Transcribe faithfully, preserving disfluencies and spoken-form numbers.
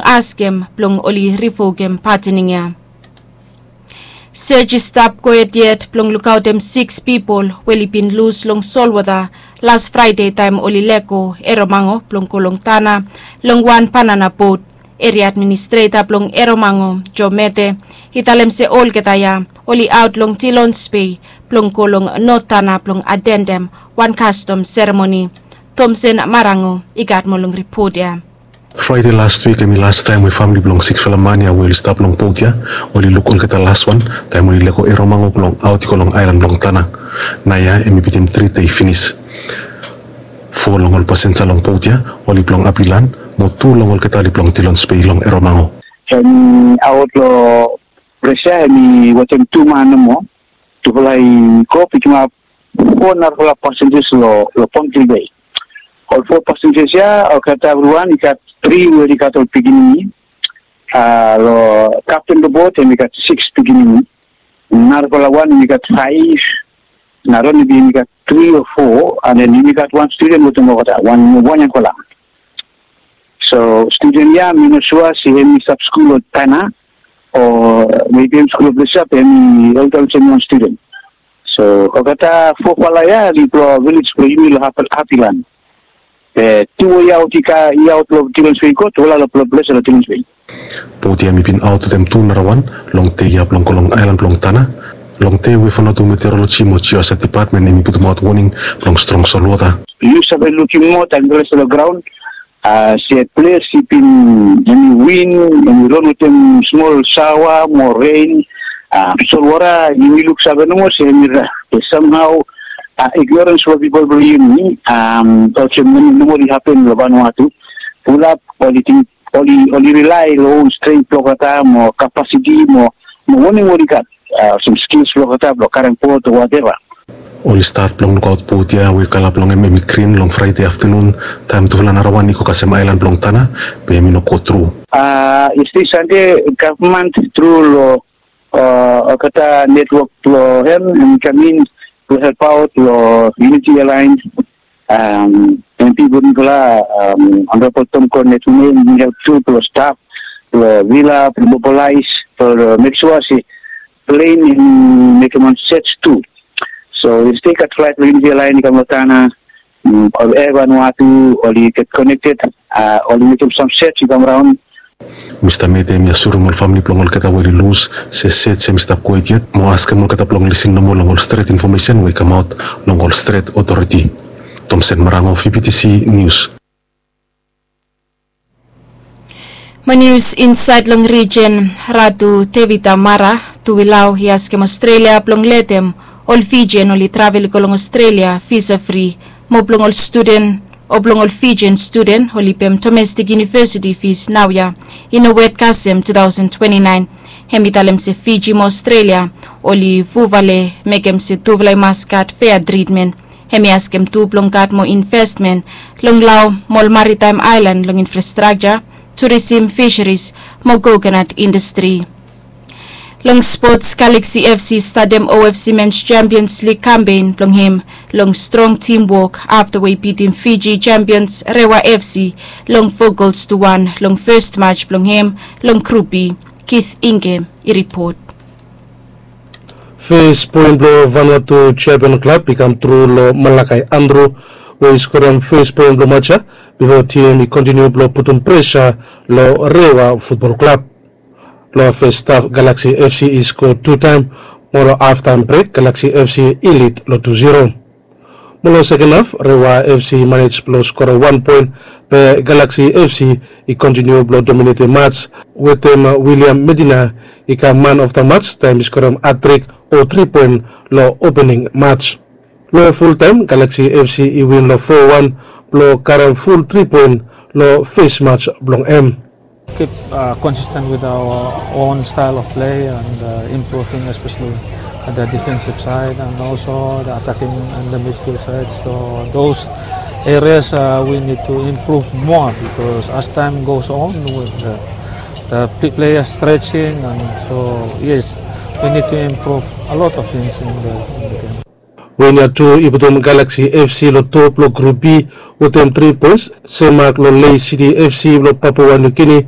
askem blong oli rivokem patening ya. Sej i stap gohed yet blong lukaotem siks pipol we oli bin lus long solwota las Fraede taem oli lego Eromango blong go long Tana long wan banana bot. Eria administreta blong Eromango, Joe Mete, i talem se olgeta ya oli aot long Dilons Bei blong go long Not Tana blong atendem wan kastom seremoni. Tomsen Marango i gat moa long ripot ya. Fraede laswik hem i lastaem we famle blong siksfala man ya we oli stap long bot ya oli luk olgeta laswan taem oli lego Eromango blong aot i go long aelan blong Tana. Naoia hem i bitim tri dei finis. Fo long ol pasenja long bot ya oli blong Apilan, mo tu long olgeta oli blong Dilons Bei long Eromango. Hem i aot long ples ya hem i wetem tu man nomo. Tufala i go pikimap fo narafala pasenjas long Pontil Bei. Ol fo pasenjas ya olgeta evriwan i gat tri we oli gat ol pikinini. Long kapten blong bot hem i gat siks pikinini. Narafala wan hem i gat faef. Narafala wan hem i gat tri o fo, and then hem i gat wan studen wetem olgeta, wan wan yangfala. So studen ya mi no sua se hem i stap skul long Tana o mebi hem skul long ples ya be hem i olgeta olsem wan studen. So olgeta fofala ya oli blong vilej blong yumi long Apilan. Be tu we i aot i aot long Dilons Bei i go, tufala long ples ya long Dilons Bei. Bot ya hem i bin aot wetem tu narawan long dei ya blong go long aelan blong Tana. Long dei we Vanuatu Meteoroloji mo Geohazard Depatmen hem i putumaot woning blong strong solwota. Yu save lukim moa taem i rest long graon se ples i bin hem i win, hem i ron wetem smol saoa mo ren. Solwota yumi luksave nomo se hem i rak. Be samhao ignorens blong pipol blong yumi olsem nomo i hapen long Vanuatu. Fulap oli ting oli rilae long ol strengt blong olgeta mo kapasiti mo woning we oli gat, olsem skils blong olgeta blong karem bot o wateva. Oli stat blong lukaot bot ya we kala blong hem hem i grin long Fraede aftanun taem tufala narawan i go kasem aelan blong Tana, be hem i no go tru. Yestede Sande gavman tru long olgeta netwok blong hem hem i kam in blong helpaot long Unity Airline. Em pipol mifala, Honorable Tom Cornett Wine, i help tu blong stap blong vila blong mobilais blong mek sua se plen i mekem wan sej tu. So yestede i gat flaet blong Unity Airline i kam long Tana, ol Air Vanuatu oli get konekted, oli mekem sam sej i kam raon. Mista Mete hem i asurim ol famle blong olgeta we oli lus se sej hem i stap gohed yet mo askem olgeta blong lisin nomo long ol stret infomesen we i kamaot long ol stret otoriti. Tomsen Marango, V B T C Nius. Mo nius insaed long rijen, Ratu Tevita Mara Tuwilau i askem Ostrelia blong letem ol Fijian oli travel i go long Ostrelia visa fri, mo blong ol studen o blong ol Fijian studen oli pem domestik yunivesiti fis naoia i no wet kasem two thousand twenty-nine. Hem i talem se Fiji mo Ostrelia oli fufale mekem se tufala i mas gat fea tritmen. Hem i askem tu blong gat moa investmen long lao mo ol maritaem aelan long infrastrakja, turisim, fisheris mo kokonat indastri. Long spots, Galaxy F C i statem O F C Men's Champions League kampen blong hem long strong timwok afta we i bitim Fiji champions Rewa F C long fo gols tu wan long fes maj blong hem long Grup B. Keith Ingem i ripot. Fes poen blong Vanuatu Champion Klab i kam tru long Malakai Andrew we i skorem fes poen blong maj ya bifo tim i kontiniu blong putum presa long Rewa Futbol Klab. Long fes haf Galaxy F C i sko tu taem, mo long haftaem brek Galaxy F C i lid long tu zero. Mo long seken haf Rewa F C i manej blong skorem wan poen, be Galaxy F C i kontiniu blong dominetem maj wetem William Medina i kam man of the maj taem i skorem hatrik o tri poen long opening maj. Long fultaem Galaxy F C i win long fo wan blong karem ful tri poen long fes maj blong hem. Keep consistent with our own style of play and improving, especially at the defensive side and also the attacking and the midfield side. So those areas we need to improve more because as time goes on with the players stretching, and so yes, we need to improve a lot of things in the game. Win ya tu i putum Galaxy F C long top long Grup B wetem tri poens, sem mak long Lae City F C blong Papua New Guinea